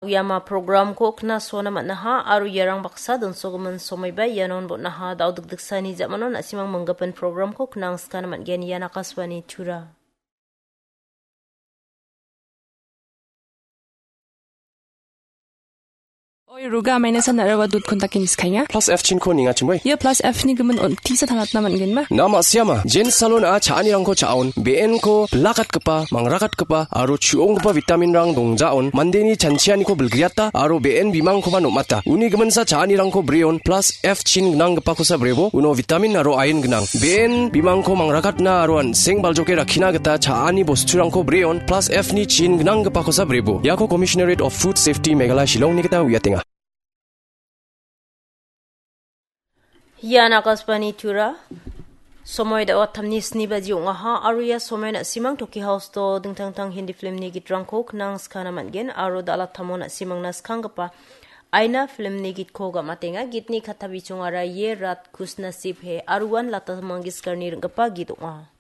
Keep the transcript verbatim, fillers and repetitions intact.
Uiama programko knasona man·aha aro iarang baksa donsogimin somoiba ianon botnaha. Dao dikdiksani ja·mano na·simang minggipin programko knangskana man·gen. Ian Akashvani Tura. Oi, Ruga, maina san araba dut kontakin iskainga. Plus F chinko ninga chimoi. Ia plus F ni gimin on tisa tangatna man·genma? Na ma·siama, Jen Salon a cha·anirangko cha·on, be·enko bilakatgipa, mangrakatgipa, aro chu·onggipa vitaminrang dongjaon, mandeni chanchianiko bilgriata, aro be·en bimangkoba nom·ata. Uni giminsa cha·anirangko breon, plus F chin gnanggipakosa brebo, uno vitamin aro iron gnang. Be·en bimangko mangrakatna aro an·seng baljoke rakkina gita cha·ani bosturangko breon, plus F ni chin gnanggipakosa brebo. Iako Commissionerate of Food Safety Meghalaya Shillongni gita uiatenga. Ian Akashvani Tura. Somoi da·o atamni sni baji ong·aha aro ia somoi na·simang Toki House-o dingtang dingtang Hindi filmni gitrangko knangskana man·gen aro da·alatamo na·simangna skanggipa Aina filmni gitko gam·atenga. Gitni katta bichongara Ye Rat Khush Naseeb Hai aro uan Lata Mangeshkarni ring·gipa git ong·a.